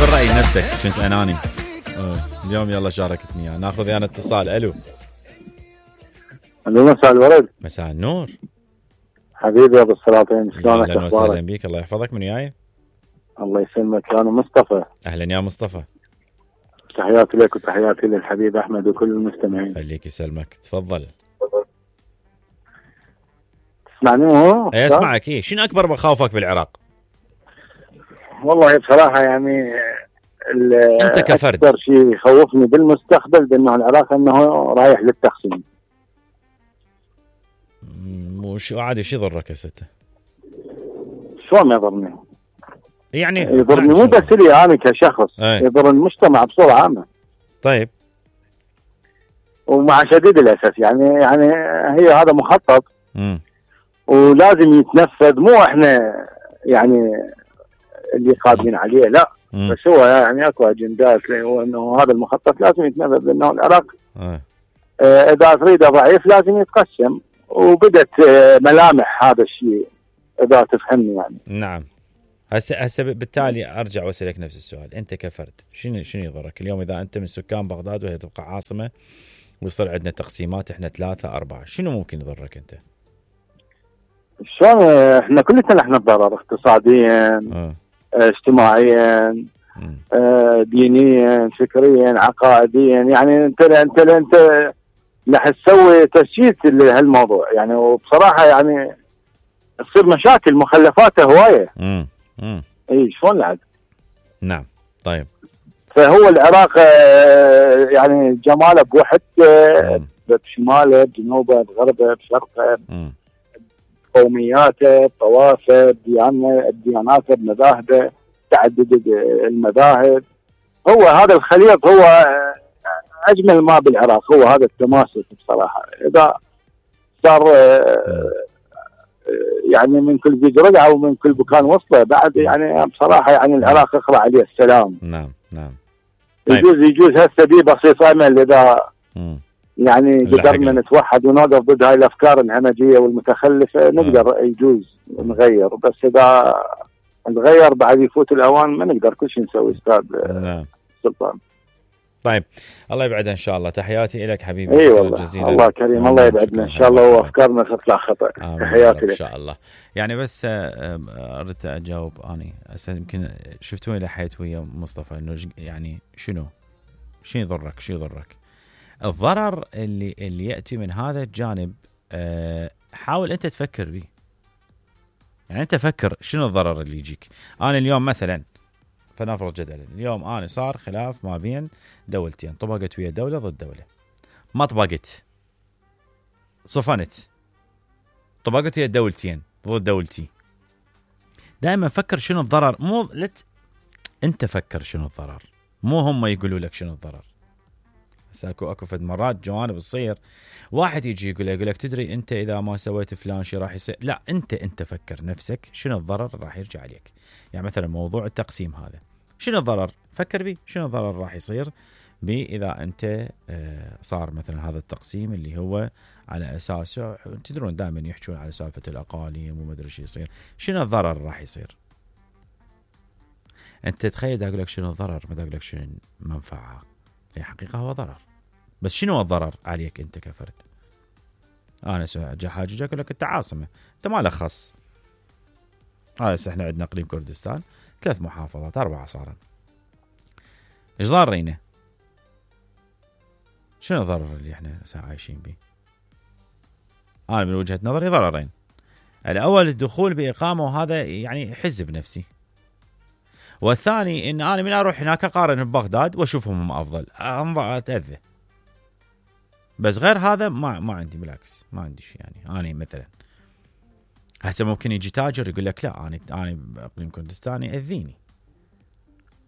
في الرأي نفسك كنت أناني. اليوم يلا شاركتني يعني. ناخذ يعني اتصال. ألو. الو مساء الورد. مساء النور حبيبي يا ابو السلاطين، شلونك؟ اهلا وسهلا بك. الله يحفظك. من وياي؟ الله يسلمك. انا مصطفى. اهلا يا مصطفى. تحياتي لك وتحياتي للحبيب احمد وكل المستمعين. خليك يسلمك. تفضل. تسمعني؟ هو اي اسمعك. ايه شنو اكبر مخاوفك بالعراق؟ والله بصراحه يعني انت كفرد اكثر شيء يخوفني بالمستقبل بانه العراق انه رايح للتقسيم. وش عادي شو يضرك يا سته؟ شلون ما يضرني؟ يعني يضرني مو بس لي انا كشخص، يضر المجتمع بصوره عامه. طيب. ومع شديد الاسف يعني هي هذا مخطط ولازم يتنفذ، مو احنا يعني اللي قادرين عليه، لا بس هو يعني اكو اجندات هو انه هذا المخطط لازم يتنفذ، لانه العراق اذا تريده ضعيف لازم يتقسم، وبدت ملامح هذا الشيء اذا تفهمني يعني. نعم. هسه بالتالي ارجع واسالك نفس السؤال. انت كفرد شنو يضرك اليوم اذا انت من سكان بغداد وهي تبقى عاصمه ويصير عندنا تقسيمات احنا 3-4؟ شنو ممكن يضرك انت؟ شلون احنا كلنا رح نتضرر اقتصاديا، اجتماعيا، دينيا، فكريا، عقائديا. يعني انت رح تسوي تسجيل لهالموضوع يعني، وبصراحه يعني تصير مشاكل مخلفاته هوايه. اي شلون لعب. نعم. طيب. فهو العراق يعني جماله بوحدته، بشماله، بجنوبه، بغربه، بشرقه، قومياته، بطوائفه، بدياناته، بمذاهبه، تعدد المذاهب. هو هذا الخليط هو اجمل ما بالعراق، هو هذا التماسك بصراحه. اذا صار يعني من كل بيج رقعه ومن كل بكان وصله بعد، يعني بصراحه يعني العراق اقرا عليه السلام. نعم. طيب. يجوز هسه بي بسيط امل اذا يعني قدرنا نتوحد ونوقف ضد هاي الافكار الهمجيه والمتخلفه، نقدر يجوز نغير. بس اذا نغير بعد يفوت الاوان ما نقدر كل شيء نسوي استاذ سلطان. طيب الله يبعد ان شاء الله. تحياتي لك حبيبي. اي والله الله كريم، الله يبعدنا ان شاء الله وافكارنا تطلع خطا. تحياتي لك ان شاء الله. يعني بس اردت اجاوب اني هسه يمكن شفتوني لحيت ويا مصطفى انه يعني شنو يضرك الضرر اللي ياتي من هذا الجانب. حاول انت تفكر به. يعني انت فكر شنو الضرر اللي يجيك. انا اليوم مثلا فنفرض جدلا اليوم انا صار خلاف ما بين دولتين، طبقت ويا دوله ضد دوله، ما طبقت، صفنت، طبقت ويا دولتين ضد دولتي. دائما فكر شنو الضرر. مو انت فكر شنو الضرر، مو هم يقولوا لك شنو الضرر. بس اكو فد مرات جوانب تصير واحد يجي يقول لك تدري انت اذا ما سويت فلان شيء راح يصير. لا انت فكر نفسك شنو الضرر راح يرجع عليك. يعني مثلا موضوع التقسيم هذا شنو الضرر؟ فكر بيه شنو الضرر راح يصير بي اذا انت صار مثلا هذا التقسيم اللي هو على اساسه تدرون دائما يحكون على سالفه الاقاليم وما ادري شو يصير. شنو الضرر راح يصير؟ انت تخيل اقول لك شنو الضرر ما اقول لك شنو المنفعه. في حقيقه هو ضرر، بس شنو الضرر عليك انت كفرد؟ انا حاجه اقول لك انت عاصمه، انت ما له خص. هسه احنا عندنا اقليم كردستان 3 محافظات 4 صارن. ايش ضارينا؟ شنو الضرر اللي احنا عايشين به؟ انا من وجهة نظري ضررين. الاول الدخول باقامه وهذا يعني حزب نفسي، والثاني ان انا من اروح هناك اقارن ببغداد واشوفهم هم افضل اتاذى. بس غير هذا ما عندي، بالعكس ما عندي شيء. يعني انا مثلا هسه ممكن يجي تاجر يقول لك لا انا باقليم كردستان ياذيني.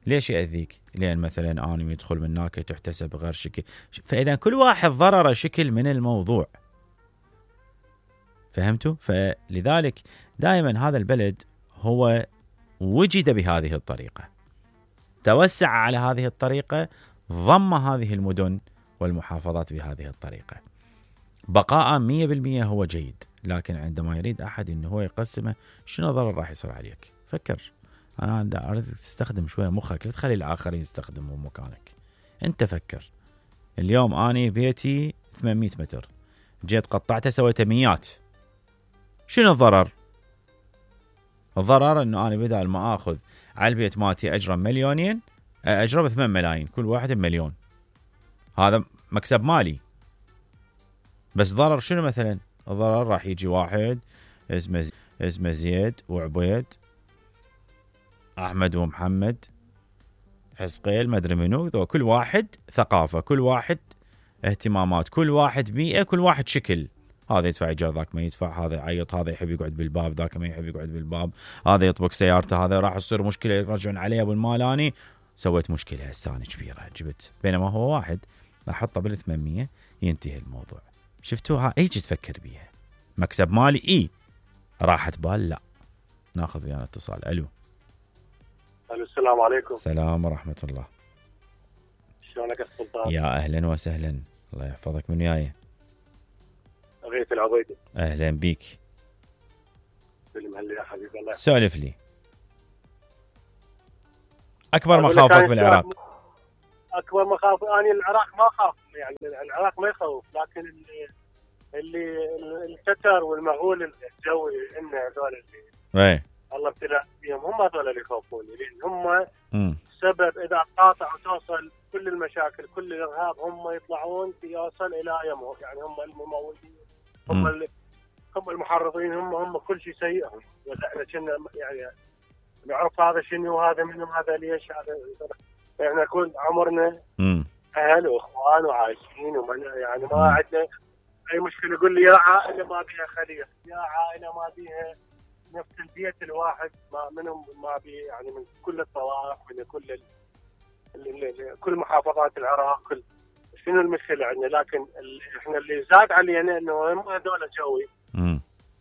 ليش ياذيك؟ لان مثلا انا يدخل من هناك تحتسب غير شكل. فاذا كل واحد ضرره شكل من الموضوع. فهمتوا؟ فلذلك دائما هذا البلد هو وجد بهذه الطريقة، توسع على هذه الطريقة، ضم هذه المدن والمحافظات بهذه الطريقة. بقاء 100% هو جيد، لكن عندما يريد أحد أنه هو يقسمه شنو ضرر راح يصير عليك؟ فكر انا اريد تستخدم شويه مخك، لا تخلي الاخرين يستخدموا مكانك. انت فكر. اليوم اني بيتي 800 متر، جيت قطعته سويته 100. شنو الضرر؟ الضرر انه انا بدال ما اخذ على البيت مالتي اجره 2 مليون، اجره 8 ملايين، كل واحد بمليون. هذا مكسب مالي. بس ضرر شنو مثلا؟ الضرر راح يجي واحد اسمه زيد وعبيد، احمد ومحمد، حسقيل، ما ادري منو، كل واحد ثقافه، كل واحد اهتمامات، كل واحد بيئه، كل واحد شكل. هذا يدفع ايجار، ذاك ما يدفع، هذا يعيط، هذا يحب يقعد بالباب، ذاك ما يحب يقعد بالباب، هذا يطبق سيارته، هذا راح تصير مشكله يرجعون عليه ابو المالاني. سويت مشكله هسه انا كبيره جبت، بينما هو واحد احطه بال 800 ينتهي الموضوع. شفتوها؟ ايش تفكر بيها؟ مكسب مالي اي، راحت بال لا. ناخذ ويانا اتصال. الو. السلام عليكم. السلام ورحمه الله. شلونك يا سلطان؟ يا اهلا وسهلا، الله يحفظك. من وياي؟ غيث العبيدي. اهلا بيك. سلم هلا يا حبيبي. الله سولف لي. اكبر مخاوفك بالعراق؟ اكبر مخاوف اني العراق ما اخاف، يعني العراق ما يخوف، لكن اللي الستر والمغول الجوي ان هذول اللي الله ابتلى فيهم، هم هذول اللي يخوفوني، لان هم سبب اذا قاطع وتوصل كل المشاكل كل الارهاب، هم يطلعون يوصل الى يمه، يعني هم الممولين، هم المحرضين، هم كل شيء سيء. احنا كنا يعني نعرف هذا شنو وهذا منهم، هذا ليش، هذا احنا كل عمرنا اهل واخوان وعايشين، يعني ما عندنا اي مشكله. يقول لي يا عائله ما بيها خليط، يا عائله ما بيها نفس البيت الواحد، ما منهم ما بي، يعني من كل الطوائف، من كل محافظات العراق، كل شنو المشكله عندنا. لكن احنا اللي زاد علينا انه هم هذول جوي،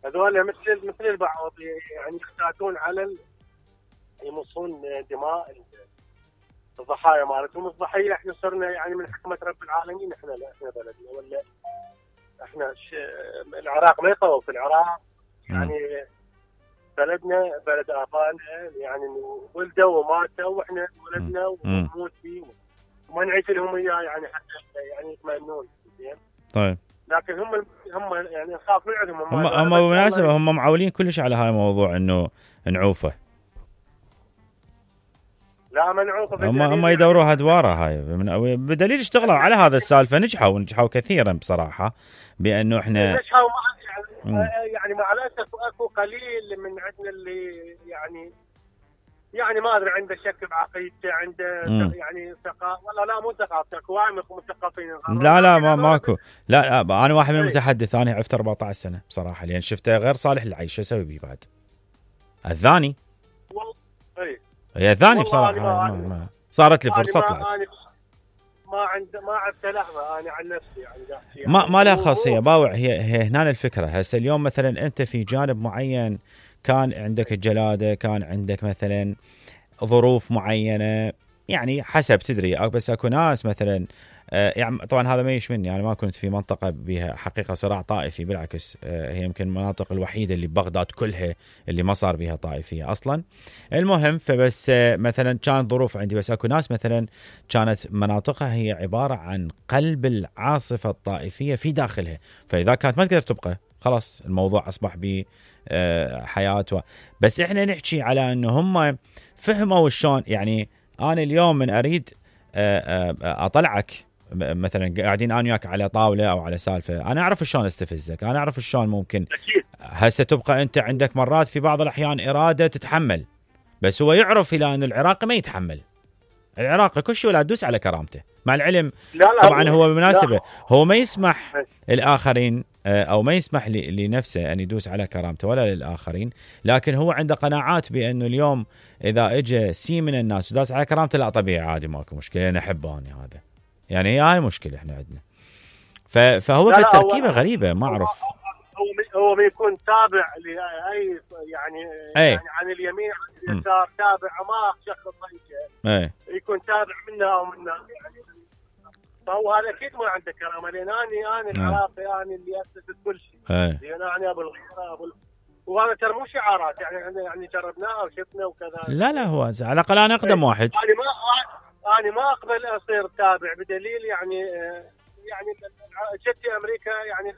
هذول مثل البعض يعني يختاتون على يمصون دماء الضحايا مالتهم. الضحيه احنا صرنا يعني من حكمه رب العالمين، احنا لا، احنا بلدنا ولا احنا العراق ما يخوف. العراق يعني بلدنا، بلد ابائنا، يعني ولدوا وماتوا واحنا ولدنا ونموت فيه وما نعيش لهم اياه، يعني حتى يعني يتمنون. زين. طيب. لكن هم يعني نخاف من عندهم. هم بالمناسبه هم معولين كلش على هاي الموضوع انه نعوفه. لا ما نعوفه. هم يدوروا ادواره هاي بدليل اشتغلوا على هذا السالفه، نجحوا كثيرا بصراحه، بانه احنا نجحوا يعني مع الاسف اكو قليل من عندنا اللي يعني ما ادري عنده شك بعقيدته، عنده يعني ثقافه، والله لا مو ثقافه، اكو وايد مثقفين. لا ماكو. لا انا واحد من المتحدث، انا عفت 14 سنه بصراحه، لان شفته غير صالح للعيش، شو اسوي بيه بعد؟ الثاني والله هي الثاني بصراحه ما صارت لي فرصه طلعت. ما عرفت لحظه انا عن نفسي يعني ما لها خاصيه باوع. هي هنا الفكره. هسه اليوم مثلا انت في جانب معين كان عندك الجلاده، كان عندك مثلا ظروف معينه، يعني حسب تدري. بس اكو ناس مثلا يعني طبعا هذا ما يشملني، يعني ما كنت في منطقه بها حقيقه صراع طائفي، بالعكس هي يمكن المناطق الوحيده اللي بغداد كلها اللي ما صار بها طائفيه اصلا. المهم فبس مثلا كانت ظروف عندي، بس اكو ناس مثلا كانت مناطقها هي عباره عن قلب العاصفه الطائفيه في داخلها، فاذا كانت ما تقدر تبقى خلاص الموضوع اصبح بحياه. بس احنا نحكي على انه هم فهموا شلون. يعني انا اليوم من اريد اطلعك مثلا قاعدين انا وياك على طاوله او على سالفه، انا اعرف شلون استفزك، انا اعرف شلون ممكن هسه تبقى انت عندك مرات في بعض الاحيان اراده تتحمل، بس هو يعرف الى ان العراقي ما يتحمل. العراقي كل شيء ولا تدوس على كرامته، مع العلم لا طبعا هو بالمناسبه هو ما يسمح الاخرين او ما يسمح لنفسه ان يدوس على كرامته ولا للاخرين، لكن هو عنده قناعات بانه اليوم اذا اجى سي من الناس وداس على كرامته لا طبيعي عادي ماكو مشكله، انا احبه انا هذا. يعني هاي مشكله احنا عندنا. فهو في التركيبه غريبه ما اعرف. هو بيكون تابع لاي يعني عن اليمين عن اليسار، تابع ما شخص يكون تابع منا او منا يعني. فهو هذا اكيد ما عنده كرامه، لان انا العراقي، انا اللي اسست كل شيء، لان انا ابو الغيره وهذا ترى مو شعارات، يعني جربناها وشفنا وكذا. لا هو على الاقل انا اقدم واحد. انا ما اقبل اصير تابع، بدليل يعني جتي امريكا يعني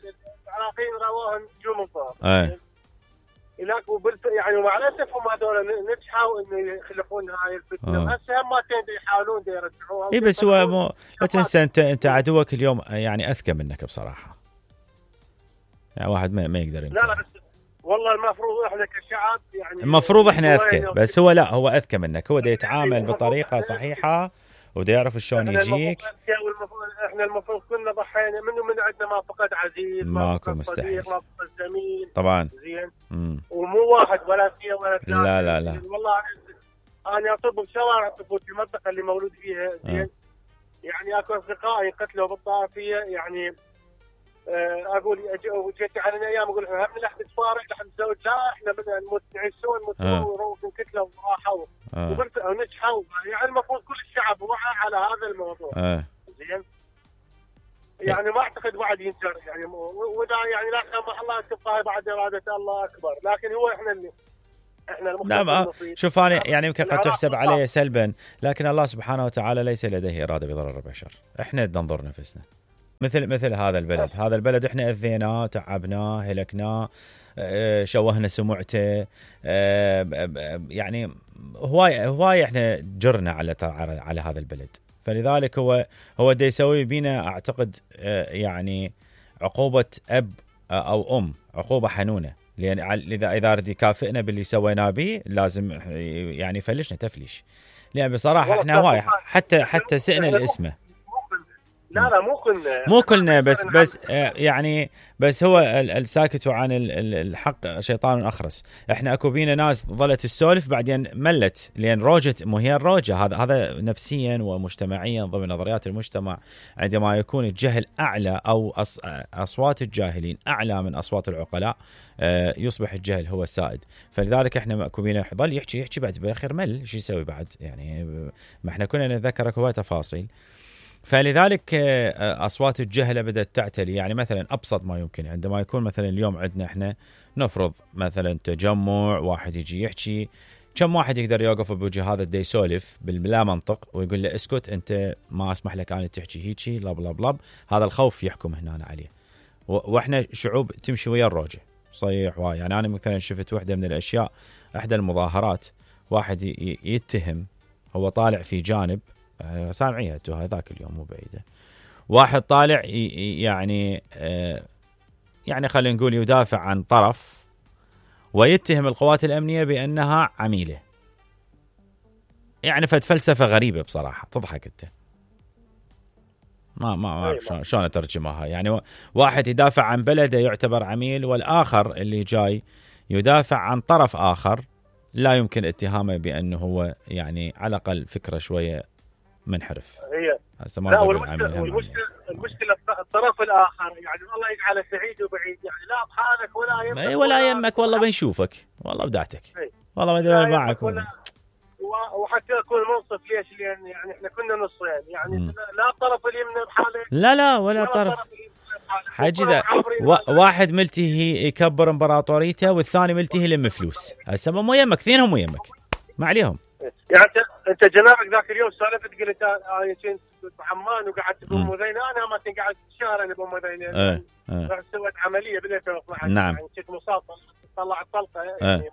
العراقيين راوها نجوم الظهر. هناك يعني ومع الاسف هم هذول نجحوا انه يخلقون هاي الفتنه، هسه هم يحاولون يرجعوها. اي بس هو لا تنسى انت عدوك اليوم يعني اذكى منك بصراحه، يعني واحد ما يقدر يمكن. لا بس والله المفروض احنا كشعب يعني المفروض احنا اذكى، بس هو لا، هو اذكى منك، هو دا يتعامل بطريقه صحيحه ودا يعرف شلون يجيك. احنا المفروض كنا ضحينا من عندنا ما فقد عزيز، ماكو مستحيل، ما فقد زميل طبعا زين. ومو واحد ولا اثنين ولا ثلاثه. لا والله انا اطب بشوارع تفوت في المنطقه اللي مولود فيها زين. يعني اكو اصدقائي قتلوا بالطائفيه، يعني اقول جيت على ايام اقول هم لحد تفارق لحد تزوج، لا احنا بدنا نموت نعيشون ونروح نكتلوا وراحوا ونجحوا. يعني المفروض كل الشعب وعى على هذا الموضوع. زين يعني ما اعتقد واحد ينكر يعني، ودا يعني لا سمح الله تبقى بعد اراده الله اكبر، لكن هو احنا نعم. شوف انا يعني يمكن قد تحسب عليه سلبا، لكن الله سبحانه وتعالى ليس لديه اراده بضرر البشر، احنا ننظر نفسنا مثل هذا البلد. هذا البلد احنا اذيناه، تعبناه، هلكناه، شوهنا سمعته، يعني هواي احنا جرنا على هذا البلد. فلذلك هو دا يسوي بينا اعتقد يعني عقوبة اب او ام، عقوبة حنونة، لان اذا رد يكافئنا باللي سويناه به لازم يعني يفلشنا تفليش، لان بصراحة احنا هواي حتى سئنا الاسمه. لا مو كلنا بس يعني بس هو الساكت عن الحق شيطان اخرس. احنا اكو بينا ناس ظلت تسولف بعدين ملت، لان روجت، مو هي الروجه، هذا نفسيا ومجتمعيا ضمن نظريات المجتمع. عندما يكون الجهل اعلى او اصوات الجاهلين اعلى من اصوات العقلاء يصبح الجهل هو السائد. فلذلك احنا اكو بينا يضل يحكي بعد بالاخير مل، شو يسوي بعد؟ يعني ما احنا كنا نتذكر هواي تفاصيل. فلذلك أصوات الجهلة بدأت تعتلي. يعني مثلا أبسط ما يمكن، عندما يكون مثلا اليوم عندنا إحنا نفرض مثلا تجمع، واحد يجي يحكي، كم واحد يقدر يوقف بوجه هذا دا يسولف باللا منطق ويقول له اسكت أنت، ما أسمح لك أنا تحكي هيجي لب لب لب. هذا الخوف يحكم هنا عليه. وإحنا شعوب تمشي ويا الروجة صيح واي. يعني أنا مثلا شفت واحدة من الأشياء، أحدى المظاهرات، واحد يتهم، هو طالع في جانب سامعيها هذاك اليوم مو بعيدة، واحد طالع يعني خلينا نقول يدافع عن طرف ويتهم القوات الأمنية بأنها عميلة. يعني فلسفة غريبة بصراحة، تضحك انت. ما اعرف شلون اترجمها. يعني واحد يدافع عن بلده يعتبر عميل، والآخر اللي جاي يدافع عن طرف آخر لا يمكن اتهامه بأنه هو يعني على الأقل فكرة شوية منحرف. هي لا، المشكلة الطرف الآخر يعني الله يجعله سعيد وبعيد، يعني لا بحالك ولا يمك والله بنشوفك والله بدعتك والله ما ادري معك وحتى اكون منصف. ليش؟ لان يعني احنا كنا نصين، يعني لا الطرف اليمنى بحاله، لا ولا طرف حاجي ذا. واحد ملتهي يكبر امبراطوريته والثاني ملتهي يلم فلوس. هسه مو يمك، اثنينهم مو يمك، ما عليهم. يعني انت جنابك ذاك اليوم سالفت قلت انا كنت بعمان وقعدت بمذينه، انا ما كنت قاعد شهر انا بمذينه. رحت سويت عمليه ب 2012. نعم. يعني كنت مصاب، طلعت طلقه يعني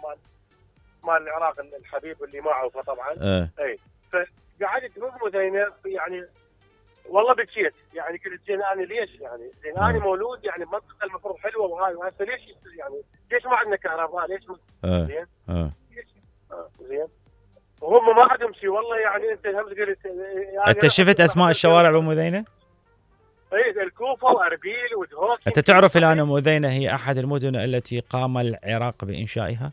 مال العراق الحبيب اللي معه طبعا. اي فقعدت بمذينه، يعني والله بكيت. يعني قلت زين انا ليش؟ يعني زين انا مولود يعني منطقه المفروض حلوه وهاي، وهسه ليش ما عندنا كهرباء؟ ليش زين زين وهم ما عندهم شيء. والله يعني انت هم قلت يعني انت شفت اسماء الشوارع بمذينه؟ اي الكوفه واربيل ودهوك. انت تعرف الان مذينه هي احد المدن التي قام العراق بانشائها؟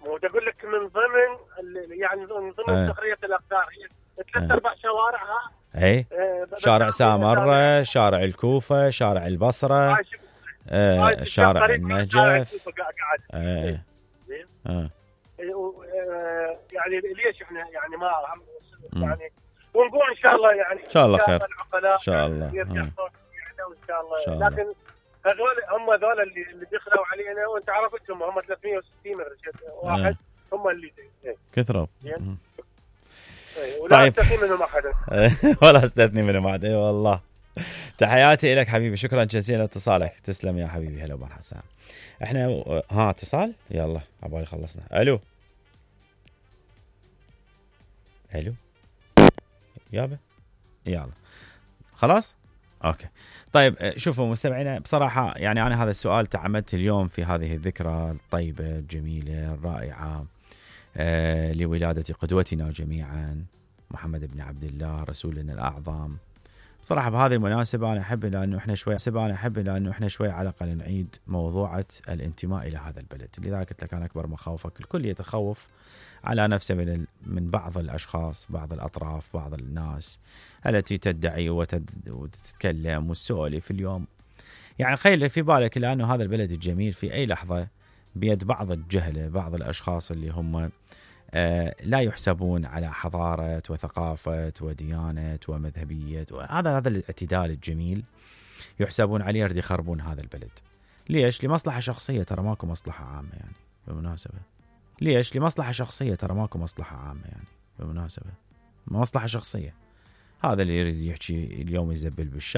مو اقول لك من ضمن يعني من ضمن تقريه الاقدار هي 3-4 شوارعها. اي شارع سامره، شارع الكوفه، شارع البصره، شارع النجف. يعني ليش احنا يعني ما يعني ونقول ان شاء الله يعني ان شاء الله خير ان شاء الله ان شاء الله. لكن هذول اللي دخلوا علينا، وانت عرفتهم هم 360 واحد هم اللي كثروا. ولا استثني منهم احد. ولا استثني منهم احد. اي والله. تحياتي لك حبيبي، شكرا جزيلا لاتصالك. تسلم يا حبيبي. هلا ومرحبا. احنا اتصال، يلا عبالي خلصنا. الو يابا، يلا خلاص اوكي. طيب شوفوا مستمعينا، بصراحه يعني انا هذا السؤال تعمدت اليوم في هذه الذكرى الطيبه الجميله الرائعه لولاده قدوتنا جميعا محمد بن عبد الله رسولنا الاعظم. صراحة بهذه المناسبة أنا أحب لأنه إحنا شوي على الأقل نعيد موضوعة الانتماء إلى هذا البلد. لذلك قلت لك أنا أكبر مخاوفك الكل يتخوف على نفسه من بعض الأشخاص، بعض الأطراف، بعض الناس التي تدعي وتتكلم وتسولف اليوم. يعني خيل في بالك لأنه هذا البلد الجميل في أي لحظة بيد بعض الجهلة، بعض الأشخاص اللي هم لا يحسبون على حضارة وثقافة وديانة ومذهبية، وهذا الاعتدال الجميل يحسبون عليه يريد يخربون هذا البلد. ليش؟ لمصلحة شخصية، ترى ماكو مصلحة عامة يعني بالمناسبة. ليش؟ لمصلحة شخصية، ترى ماكو مصلحة عامة يعني بالمناسبة، مصلحة شخصية. هذا اللي يريد يحكي اليوم يزبل بالشارع.